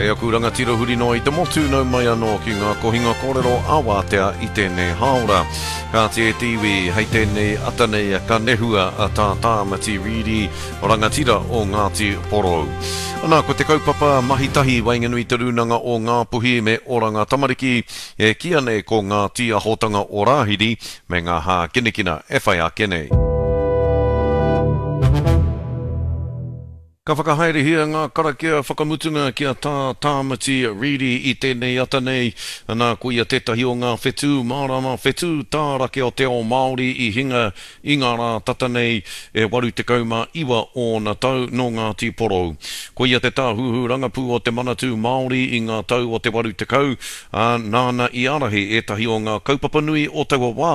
E aku rangatira huri noa i te motu, nau mai anō ki ngā kohinga kōrero a Wātea i tēnei hāora. Kāti e te iwi, hei tēnei ata nei ka nehua a Tā Tāmati Reedy, rangatira o Ngāti Porou. Ana, ko te kaupapa mahi tahi waenganui i Te Rūnanga o Ngāpuhi me Oranga Tamariki, e kīia nei ko Ngā Tīahotanga o Rāhiri me ngā hākinakina e whai ake nei. Ka whakahaerehia ngā karakia whakamutunga ki a Tā Tāmati Reedy i tēnei ata nei, ana, ko ia tētahi o ngā whetū mārama, whetū tārake o te ao Māori i hinga i ngā rā tata nei, e 89 ōna tau, nō Ngāti Porou. Ko ia te tāhuhu rangapū o te Manatū Māori i ngā tau o te 80, ā, nāna i ārahi ētahi o ngā kaupapa nui o taua wā,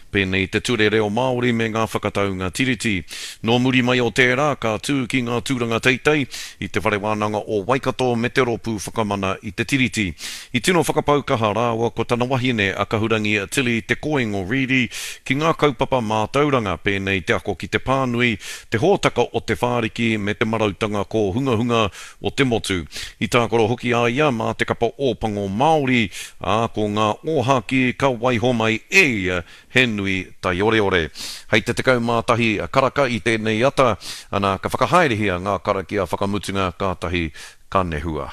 pēnei i te Ture Reo Māori me ngā whakataunga Tiriti. Nō muri mai o tērā, ka tū ki ngā tūranga teitei i Te Whare Wānanga o Waikato me te Rōpū Whakamana i te Tiriti. I tino whakapau kaha rāua ko tana wahine a Kahurangi Tilly Te Koingo Reedy ki ngā kaupapa mātauranga pēnei te ako ki te pānui, te hōtaka o Te Whāriki me te marautanga kōhungahunga o te motu. I tākaro hoki a ia mā te kapa Ōpango Māori, ā, ko ngā ōhākī ka waiho mai e ia he nui taioreore. Hei te 11 karaka i tēnei ata, ana, ka whakahaerehia ngā karakia whakamutunga kātahi ka nehua.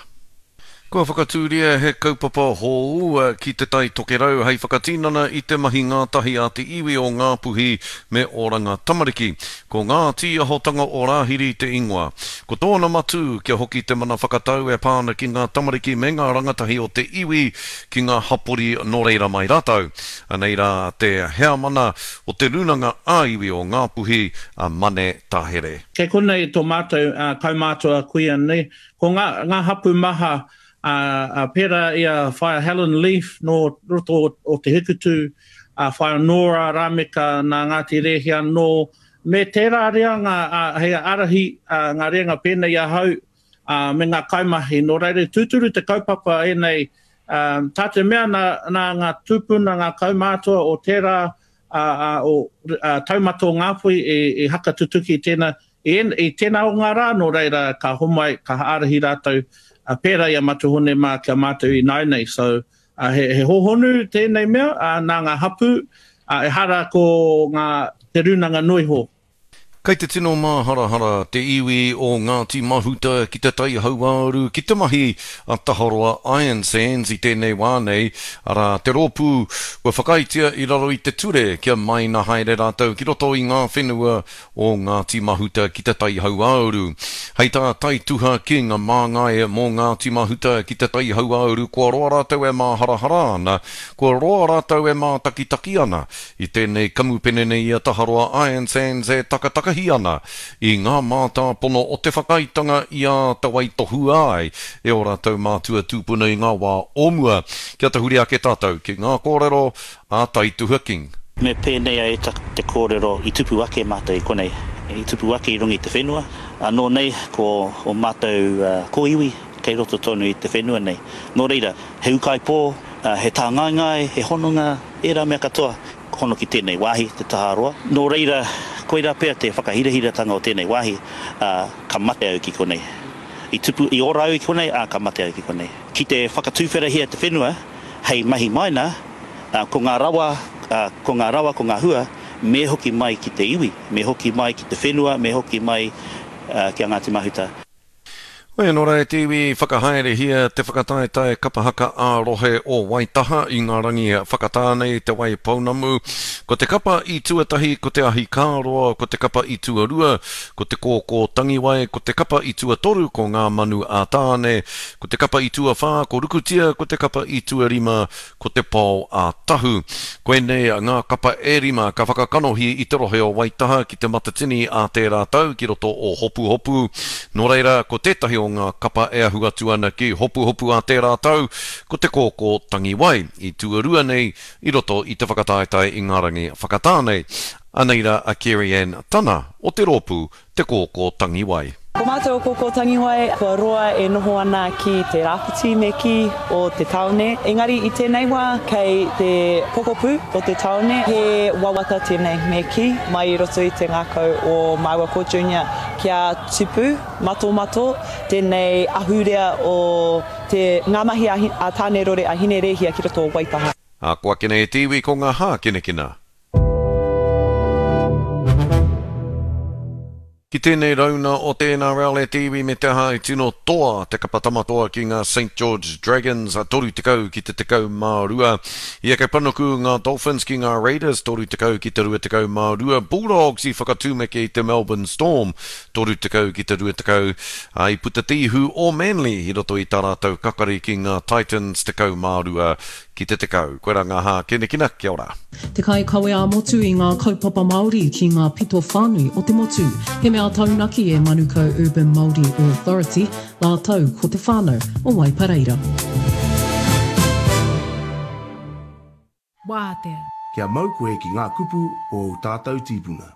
Kua whakatūria he kaupapa hou ki Te Tai Tokerau hei whakatinana i te mahi ngātahi a te iwi o Ngāpuhi me Oranga Tamariki. Ko Ngā Tīahotanga o Rāhiri te ingoa. Ko tōna matū kia hoki te mana whakatau e pā ana ki ngā tamariki me ngā rangatahi o te iwi ki ngā hapori nō reira mai rātou. Anei rā te heamana o te Rūnanga ā-Iwi o Ngāpuhi, a Mane Tahere. Kei konei tō mātou kaumātua kuia nei, Ko ngā, ngā hapū maha, ā, ā, pērā i a Whaea Helen Leaf nō roto o, o Te Hikutu, a Whaea Nora Rameka nā Ngāti Rēhia anō, me tērā reanga, ā, hei ārahi, ā, ngā reanga pēnei i ahau, ā, me ngā kaimahi. Nō reira, tūturu te kaupapa ēnei, ā, tā te mea nā, nā ngā tūpuna, ngā kaumātua o tērā, ā, ā, o, ā, taumata o Ngāpuhi i, i hakatutuki tēnā, I, i tēnā o ngā rā, nō reira, ka homai, ka ārahi rātou, uh, pērā i a Matua Hone mā ki a mātou ināianei. So, uh, he, he hōhonu tēnei mea, uh, nā ngā hapū, uh, ehara ko ngā, te rūnanga noiho. Kei te tino māharahara te iwi o Ngāti Mahuta ki te Tai Hauāuru ki te mahi a Taharoa Iron Sands i tēnei wā nei, arā, te rōpū kua whakaaetia i raro i te ture kia maina haere rātou ki roto i ngā whenua o Ngāti Mahuta ki Te Tai Hauāuru. Hei tā Taituha King, māngai mō Ngāti Mahuta ki Te Tai Hauāuru kua roa rātou e māharahara ana, kua roa rātou e mātakitaki ana i tēnei kamupene nei i a Taharoa Iron Sands e takatakahi ana i ngā mātāpono o te whakaaetanga i āta waitohua ai e ō rātou mātua tūpuna i ngā wā o mua. Kia tahuri ake tātou ki ngā kōrero a Taituha King. Me pēnei a Eta te kōrero i tupu ake mātou i konei, i tupu ake i runga i te whenua, anō nei ko ō mātou kōiwi kei roto tonu i te whenua nei. Nō reira, he ūkaipō, he tāngaengae, he hononga, ērā mea katoa, hono ki tēnei wāhi, te Taharoa. Nō reira, koirā pea te whakahirahiratanga o tēnei wāhi, ā, ka mate au ki konei. I tupu, i ora au i konei, ā, ka mate au ki konei. Ki te whakatūwherahia te whenua, hei mahi maina, ā, ko ngā rawa, ā, ko ngā rawa, ko ngā hua, me hoki mai ki te iwi, me hoki mai ki te whenua, me hoki mai, ā, ki a Ngāti Mahuta. Hoi anō rā e te iwi, whakahaerehia te whakataetae kapa haka ā-rohe o Waitaha i ngā rangi whakatā nei Te Wai Pounamu. Ko te kapa i tuatahi ko Te Ahi Kāroa, ko te kapa i tuarua ko Te Kōkō Tangiwai, ko te kapa i tuatoru ko Ngā Manu a Tāne, Ko te kapa i tuawhā, ko Rukutia, ko te kapa i tuarima, ko Te Pao a Tahu. Koinei ngā kapa e rima ka whakakanohi i te rohe o Waitaha ki Te Matatini ā tērā tau ki roto o Hopuhopu. Nō reira, ko tētahi o ngā kapa e ahu atu ana ki Hopuhopu ā tērā tau, ko Te Kōkō Tangiwai, i tuarua nei i roto i te whakataetae i ngā rangi whakatā nei. Anei rā a Kerry-Ann Tana o te rōpū Te Kōkō Tangiwai. Ko mātou o Kōkō Tangiwai, kua roa e noho ana ki te rāwhiti me kī o te tāone, engari i tēnei wā kei te pokapū o te tāone, he wawata tēnei me kī, mai i roto i te ngākau o māua ko Junior kia tupu matomato tēnei ahurea o te ngā mahi a Tānerore a Hinerēhia ki roto o Waitaha. Ako ake nei e te iwi ko ngā hākinakina. Ki tēnei rauna o te NRL e te iwi me te aha i tino toa te kapa tamatoa ki ngā Saint George Dragons 30 ki te 12. I eke panuku ngā Dolphins ki ngā Raiders 30 ki te 22. Bulldogs i whakatūmeke i te Melbourne Storm 30 ki te 20, ā, i puta te ihu o Manly i roto i tā rātou kakari ki ngā Titans 12 ki te 10. Koirā ngā hākinakina, kia ora. Te kaikawe ā-motu i ngā kaupapa Māori ki ngā pito whānui o te motu. He mea taunaki e Manukau Urban Māori Authority rātou ko te whānau o Waipareira. Wātea. Kia mau koe ki ngā kupu o ō tātou tīpuna.